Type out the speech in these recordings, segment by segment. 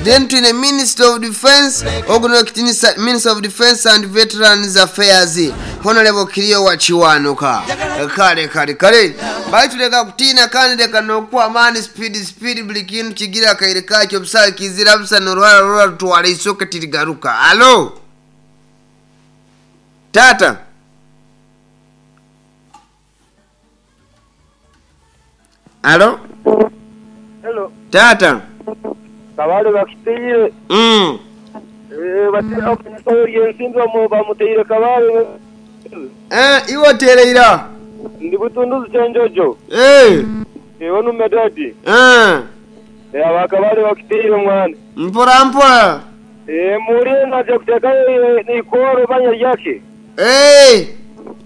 Then twine Minister of Defence, ogu n'owekitinisa Minister of Defence and Veterans Affairs, Honourable Kiryowa Kiwanuka. Kale kale kale. Baitu leka kutiina kandi leka n'okuhwa amaani speed speed buli kintu kigira akaire kakyo busa kizira busa n'oruhara rwona rutwara eisoke tirigaruka. Hallo! Taata. Alo. Hello. Taata. Kabale bakiteire. Mm. Eh, bati omusawo yensimbi bamuteire Kabale. Eh, iwe otereira. Ndi Butunduzi Kyenjojo. Eh. Ewe nume daddy. Eh. Eh, aba Kabale bakiteire mwana. Mpora mpora. Eh, muwulire naja kutekayo eikooro banya lyake. Eeh.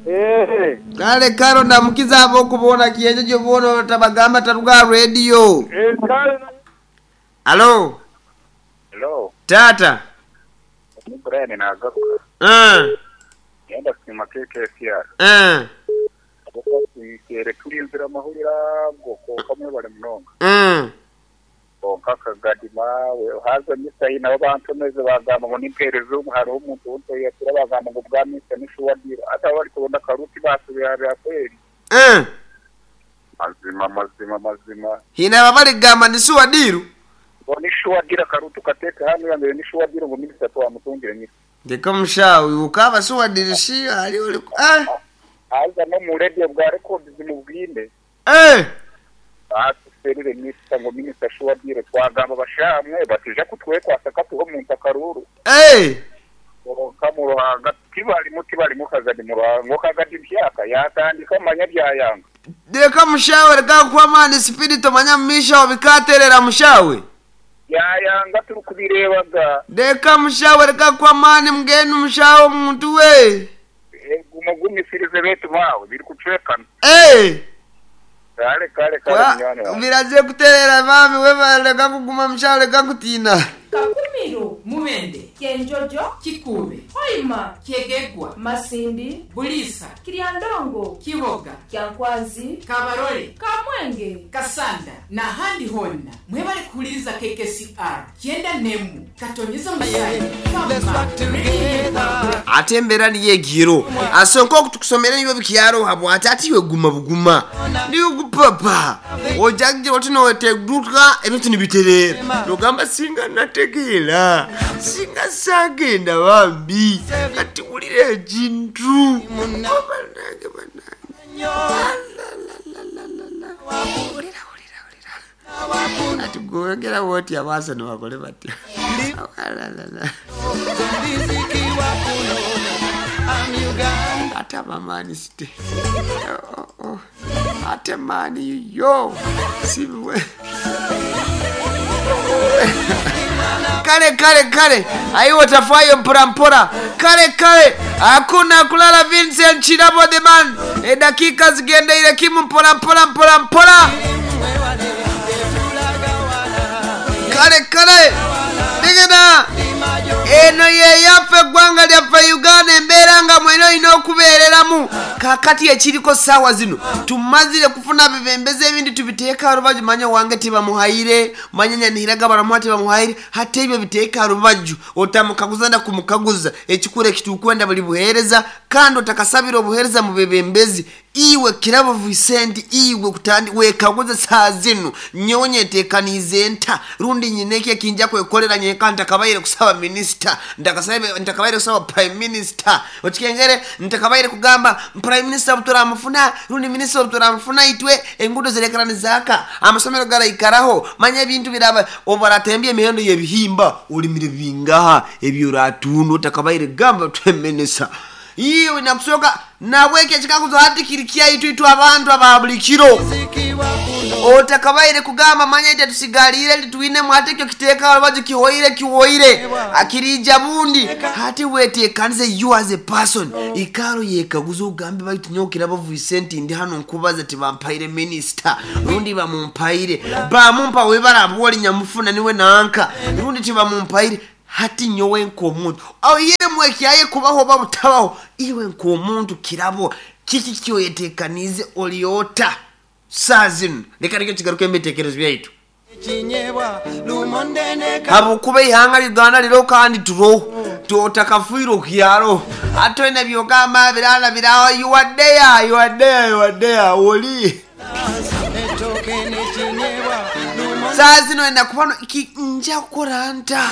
Eeh. Kale kale ondamukize ab'oku boona Kyenjojo boona otabagamba taruga aha radio. Eeh kale. Halo. Hello. Taata. Ni Brian nagaruka. Eeh. Niinyenda kusiima KKCR Eeh. ahabw'okuba twikaire turinzire amahurire ago kwonka mwebare munonga. Eeh. Kwonka akagadi maawe haza misa hi nabo bantomeze bagamba ngu nimpereza omu hariho omuntu ou ntoyatura bagamba ngu bwa misa ni shuwa diru hati abo barikuronda akaruti basobya aha bya kweri. Eeh. Mazima mazima mazima. Haine abo abarikugamba ni shuwa diru? Ngu ni shuwa diru akaruti okateeke hanu oyambire ni shuwa diru ngu minisita twamutungire misa. Ndeka omushaho iwe okaaba shuwa diru shi hariho oriku ah. Haza n'omu radio bwa records mubwine. Eeh. Baatuserire minisita ngu minisita shuwa diru twagamba bashamwe batija kutwekwasa katuhe omuntu akaruuru. Eeh. Kwonka mu Ruhanga tibarimu tibarimu Kagadi mu Ruhanga ngu Kagadi mpyaka yaatandika manya byayanga. Reka mushawe reka kukuha amaani sipidi tomanya mumaisho aho bikaterera mushawe. Byayanga turikubireeba ga. Reka mushawe reka kukuha amaani mbwenu mushawe omuntu we. Guma ogumisirize beitu maawe birikucwekana. Eeh. Kare kare kare munywani wangye. Biraze kuterera bambi webare reka kuguma mushawe reka kutiina. Kakumiro, Mubende, Kyenjojo, Kikuube, Hoima, Kyegegwa, Masindi, Buliisa, Kiryandongo, Kiboga, Kyankwanzi, Kabarole, Kamwenge, Kasanda n'ahandi hoona. Mwebale kuhuririza KKCR kyenda n'emwe katonyeza Masai, Fama, Radio y'eggwanga. Ate embeera niyo egyo. So nk'oku tukusomera niiwe bikyaroha bwati ati iwe guma buguma. Ndikukupapa. Oja kugira oti nooteguka ebintu nibitereera. Noogamba singa nategeera, singa saagenda bambi. Kati wulira ekintu. Oh banange banange. Alalalalala. Wulira wulira wulira. Ati gwe oyogera bwoti abaasoni bakole batya? Alalala. Ate abamaani site. Oh, oh. Ate maani yo. Sibiwe. Kale kale kale aye otafayo mpora mpora kale kale hakuna kulala Vincent Kirabo the man edakiika zigendeire kimu mpora mpora mpora mpora kale kale Digida Eno ye yaffe eggwanga lyaffe Uganda embeera nga mwena olina okubeereramu. Kaakati ekiriko saawa zino tumazire kufuna bibembezi ebindi tubiteeke aha rubaju manya owange tibamuhaire manya Nyanihira baramuha tibamuhaire hati ebyo biteeke aha rubaju otamukaguza na kumukaguza ekikuru ekiturikwenda buri buheereza kandi otakasabire obuheereza mu bebembezi Iwe Kirabo Vicent iwe kutandi wekaguze saaha zinu, nyowe nyetekaniize nta rundi nyine ki eki nja kwekorera nyenka ntakabaire kusaba minisita, ntakabaire kusaba prime minister, okikengere ntakabaire kugamba prime minister obu turamufuna rundi minisita obu turamufuna itwe enguudo zirekera nizaaka, amasomero garaikaraho, manya ebintu biraba, obu baratembya emihendo y'ebihimba orimire bingaha ebi oratunda otakabaire kugamba prime minister. Iwe nakusooka nahabwekyo ekikaguzo hati kiri kyaitu itwe abantu aba buli kiro. Otakabaire kugamba manya itwe tusigaliire titwinemu hati ekyo kiteeka aha rubaju kihoire kihoire kiriija bundi. Hati weteekanize you as a person ikaara oyekaguze ogambe baitu nyowe Kirabo Vincent ndi hanu nkubaza tibampaire minisita rundi bamumpaire bamumpa webare ahabwa ori nyamufuna niwe nanka rundi tibamumpaire Hati nyowe nk'omuntu, oihiremu ekyaye kubaho oba butabaho, iwe nk'omuntu kirabo, kiki eki oyeteekaniize? Ori ota saaha zinu? Leka nikyo kigaruke omu bitekerezo byaitu. Habwokuba eihanga Uganda ririho kandi turiho totakafiire okyaro hati oyine byogamba birana biraho you are there you are there you are there oli saa zino enda kuba no- ki- nja kukora nta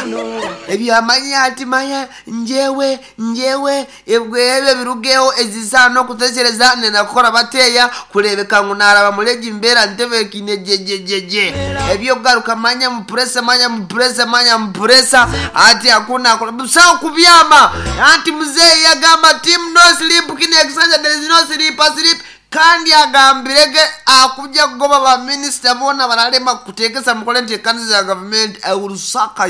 ebyamanya ati manya njewe njewe ebwe ebyo birugeho ezisaha n'okutekyereza nenda kukora bateya kurebeka ngu naraba muregi mbeera ntebekine jejejeje ebyokugaruka manya mupuresa manya mupuresa manya mupuresa ati hakuna busaho kubyama anti muzeeyi yagamba team no sleep kine ekisanja there is no sleep asleep kandi agambirege akujja kugoba baminisita boona baralema kuteekesa mukole nti ekanisa ya gavumenti eurusaka.